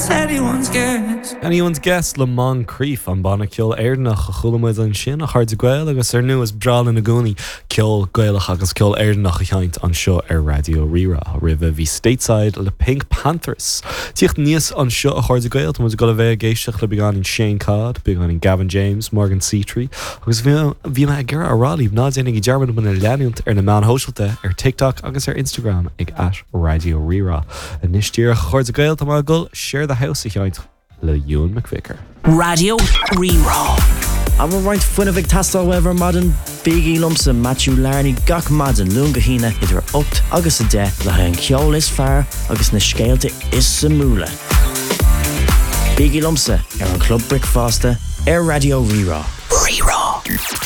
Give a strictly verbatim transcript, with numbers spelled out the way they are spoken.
It's anyone's guess. Anyone's Guess le Moncrief an banna ceoil Éireannach a chuala muid ansin a chairde Gael agus ar ndóigh is breá linn i gcónaí ceol Gaelach agus ceol Éireannach a sheinnt anseo ar Raidió Rí-Rá roimhe bhí Stateside le PinkPantheress. Tíocht níos anseo a chairde Gael Tá go bheith ag éisteacht le beagáinín Shane Codd, beagáinín Gavin James, Morgan Seatree, agus bhí mé ag rá libh ná déanaigí dearmad muid a leanúint ar na meáin shóisialta ar TikTok agus ar Instagram ag at Raidió Rí-Rá. Anois díreach a chairde Gael tá mé ag dul Share the House a sheinnt le Ewan McVicker. Raidió Rí-Rá. An bhfuil roinnt fuinnimh ag teastáil uaibh ar maidin bígí liomsa Matthew Larney gach maidin Luan go hAoine idir ocht agus a deich le haghaidh an ceol is fearr agus na scéalta is suimiúla. Bígí liomsa ar an Club Bricfeasta ar Raidió Rí-Rá.